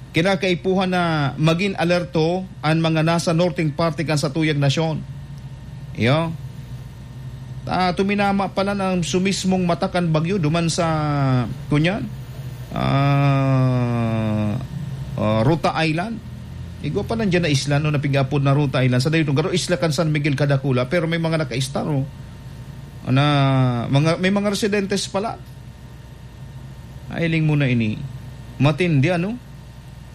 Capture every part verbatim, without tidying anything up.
Kinakaipuhan na magin alerto an mga nasa norteng parte kan satuyang nasyon. Iyo. Ta, tuminama pala ang sumismong mata kan bagyo duman sa, kunyan, ah, ah, Rota Island. Igwa pa lang dyan na isla, no, na pig-apod na Rota Island. Sa dayon, garo isla kan San Miguel Kadakula, pero may mga naka-star, oh. Na, mga, may mga residentes pala. Ay, hiling mo na ini. Matindi, ano?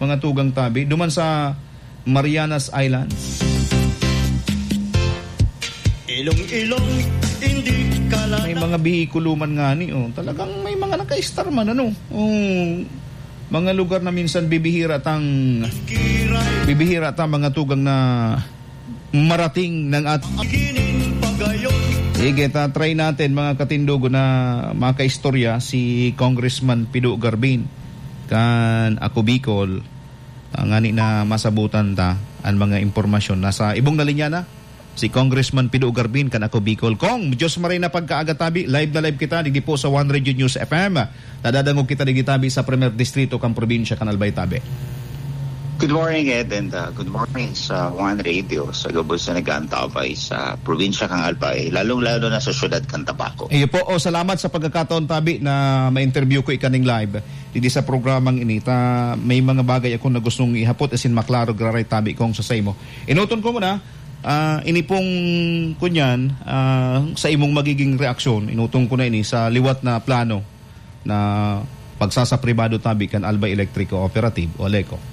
Mga tugang tabi. Duman sa Marianas Islands. Ilong-ilong, hindi ka lang May mga bihikulo man nga ni, oh. Talagang may mga naka-star man, ano? Oh, mga lugar na minsan bibihira tang, bibihira tang mga tugang na marating ng at Sige, ta-try natin, mga katindogo, na makaistorya si Congressman Pido Garbin kan Ako Bicol. Ah, ngani na masabutan ta an mga impormasyon. Nasa ibong na linya na si Congressman Pido Garbin kan Ako Bicol. Kong, Diyos maray na pagkaaga tabi, live na live kita, digdi po sa One Radio News F M. Nadadangog kita digdi tabi sa Primer Distrito kan probinsya kan Albay tabi. Good morning, Ed, and, uh, good morning sa One Radio, sa gabos na nag-aantabay sa probinsya kan Albay, lalong-lalo na sa siyudad kan Tabaco. Iyo po, oh, salamat sa pagkakataon tabi na ma-interview ko ikaning live digdi sa programang ini. Ta, may mga bagay ako na gustong ihapot, asin maklaro giraray tabi kong sa saimo. Inuton ko muna, ah, ini pong kunyan, ah, sa imong magiging reaksyon, inuton ko na ini sa liwat na plano na pagsasapribado tabi kan Albay Electric Cooperative o ALECO.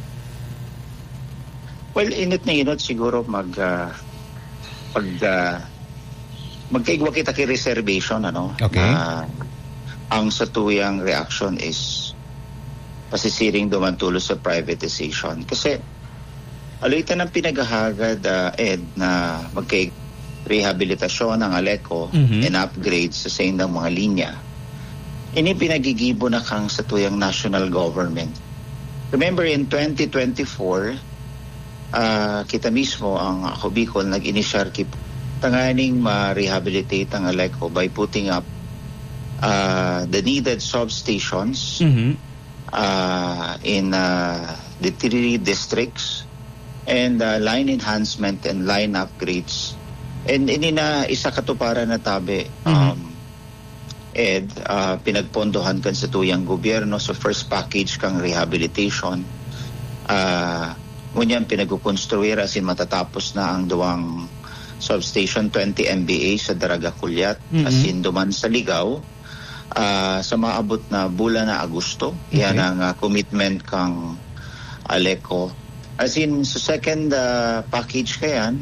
Well, inot na inot siguro mag, ah, pag, ah, magkaigwa kita ki reservation, ano? Okay. Na ang satuyang reaction is pasisiring duman tolos sa privatization. Kasi, aloy ta nang pinaghahagad, ah, Ed, na magkaig-, rehabilitasyon ang ALECO Mhm. and upgrade sa saindang mga linya. Ini pinagigibo na kan satuyang national government. Remember, in twenty twenty-four, ah, kita mismo, ang Ako Bicol, nag-inisyar ki-, tanganing ma-rehabilitate ang ALECO by putting up, ah, the needed substations Mhm. ah, in, ah, the three districts, and, ah, line enhancement and line upgrades. And ini na isa katuparan na tabi, Mhm. um, Ed, ah, pinagpondohan kan satuyang gobyerno sa first package kang rehabilitation. Ah, ngunyan pinagkukonstruir asin matatapos na ang duwang substation, twenty M V A sa Daraga Culiat, Mhm. asin duman sa Ligao, ah, sa maabot na bulan na Agosto. Yan Okay. ang, ah, commitment kang ALECO. As in, sa second, ah, package kayan,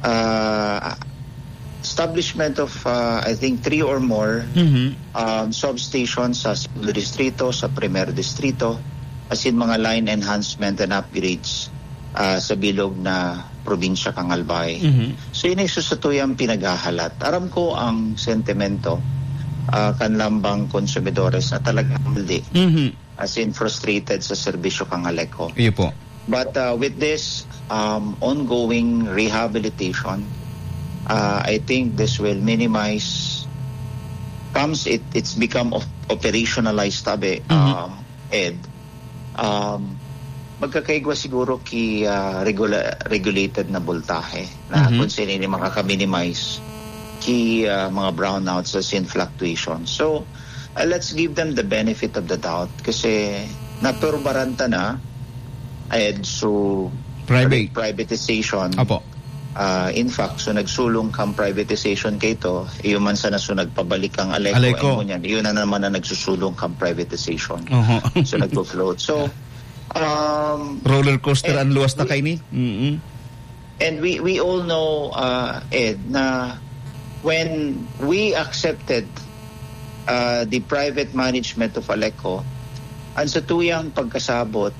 ah, establishment of, ah, I think, three or more, Mhm. um, substations sa Segundo Distrito, sa Primer Distrito, as in, mga line enhancement and upgrades, ah, sa bilog na probinsya kan Albay. Mhm. So, ini sa satuyang pinaghahalat. Aram ko ang sentimento, ah, kan lambang konsumidores na talagang maldi, Mhm. as in frustrated sa serbisyo kan ALECO. Iyo po. But, ah, with this, um, ongoing rehabilitation, ah, I think this will minimize, comes it, it's become op-, operationalized, tabi, Mhm. um, Ed, um, magkakaigwa siguro ki, ah, regula-, regulated na boltahe na Mhm. kung sino ini makaka-minimize ki, ah, mga brownouts as in fluctuation. So, ah, let's give them the benefit of the doubt kasi naperbaran ta na, Ed, so Private. pri-, privatization. Apo. Ah, in fact, so nagsulong kang privatization kaito, iyo man sana so nagpabalik kang ALECO, Aleco. Ay, ngunyan, iyo na naman ang nagsusulong kang privatization. Oho. So nagpo-float. So, um, Roller coaster and, ang luwas na we, kaini. Mm-mm. and we, we all know, uh, Ed, na when we accepted, uh, the private management of ALECO, ang satuyang pagkasabot,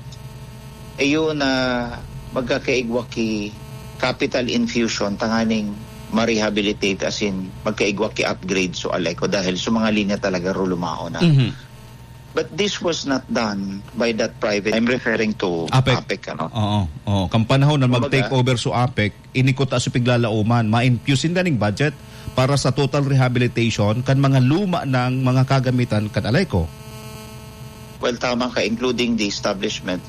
iyo na magkakaigwa ki capital infusion tanganing ma-rehabilitate, as in, magkaigwa ki upgrade so ALECO dahil so mga linya talaga rulumao na. Mhm. But this was not done by that private, I'm referring to APEC. APEC, ano? Oo, oo. Kan panahon na Kumbaga, mag-take over so APEC, ini kuta so piglalaoman, ma-infuse sinda ning budget para sa total rehabilitation kan mga luma nang mga kagamitan kan ALECO. Well, tama ka, including the establishment